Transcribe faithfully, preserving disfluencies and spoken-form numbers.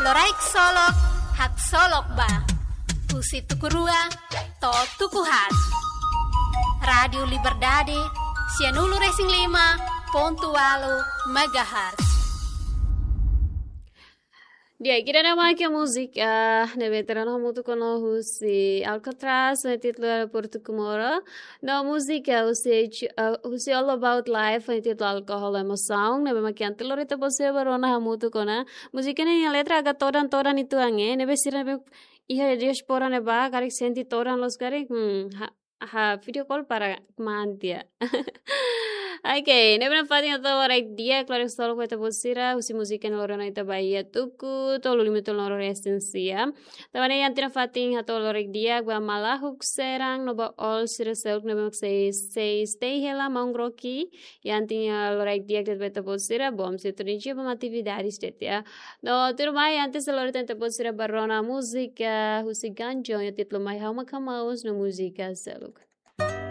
Loraik Solok, haksolok ba. Husi tuku rua to'o tuku haat. Rádiu Liberdade, sianulu-resin-lima pontu ualu megahertz. Di'ak, ida-ne'e mak múzika ne'ebé tau ona hamutuk ona husi Alcatraz, ho títulu Portu Comoro. No múzika husi, eh, husi All About Life, ho títulu Alcohol Emosaun, ne'ebé mak ohin loron ita-boot sira bá rona hamutuk ona. Múzika ne'e nia letra agak todan-todan uitoan, eh, ne'ebé sira ne'ebé iha diáspora ne'ebá, karik sente todan loos karik, hmm, ha, ha, video call para kmaan tiha. Oke, ne'ebé nafatin hato'o loraik di'ak, loraik solok ba ita-boot sira, husi múzika ne'e loron ita bá iha tuku tolu lima tolu no resin sia. Tanba ne'e iha tiha nafatin hato'o loraik di'ak ba maluk sira no ba all sira seluk ne'ebé mak sei, sei stay hela maun Rocky. Iha tiha loraik di'ak de'it ba ita-boot sira, bom sintonia ba atividades de'it, ya. No tuirmai, antes de lori tan ita-boot sira bá rona múzika husi Ganjo, ho títulu Mai Ha'u Mak Hamaus no múzika seluk.